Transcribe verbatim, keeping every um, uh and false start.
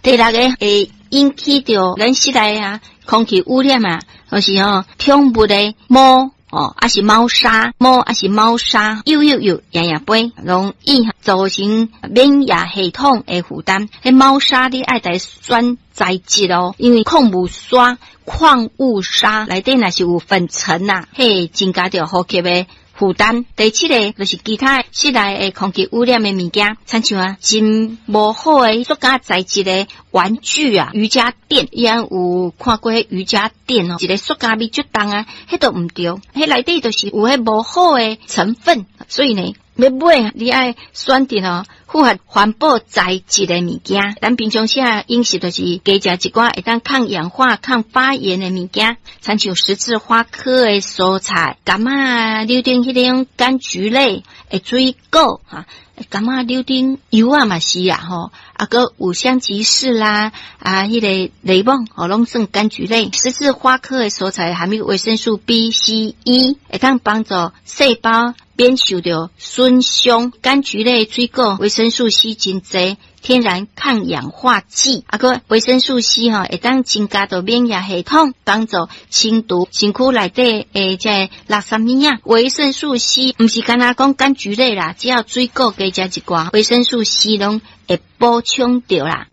第六个會引起著咱室內啊空氣污染啊，就是吼寵物的毛哦，抑是貓砂，貓抑是貓砂，幼幼幼，營養杯，容易造成免疫系統的負擔。彼貓砂你愛來選材質哦，因為礦物砂、礦物砂內底若是有粉塵啊，彼增加著呼吸的負擔。第七个就是其他室內的空氣污染的物件，親像啊真無好的塑膠材質的玩具啊、瑜伽墊，伊翁有看過彼瑜伽墊哦，一个塑膠味足重啊，彼都毋對，彼內底就是有彼無好的成分，所以呢，欲買你愛選擇哦符合環保材質的物件。咱平常時啊飲食就是加食一寡會當抗氧化、抗發炎的物件，親像十字花科的蔬菜、柑仔、柳丁彼種柑橘類的水果哈，柑仔、柳丁柚仔嘛是啊吼，啊閣有香吉士啦，啊彼个檸檬吼，攏算柑橘類。十字花科的蔬菜含有維生素 B、C、E，會當幫助細胞免受著損傷。柑橘類水果維生素 C 真濟，天然抗氧化劑。啊，閣維生素 C 吼，會當增加著免疫系統，幫助清除身軀內底的這個垃圾物仔。維生素 C 毋是干焦講柑橘類啦，只要水果加食一寡，維生素 C 攏會補充著啦。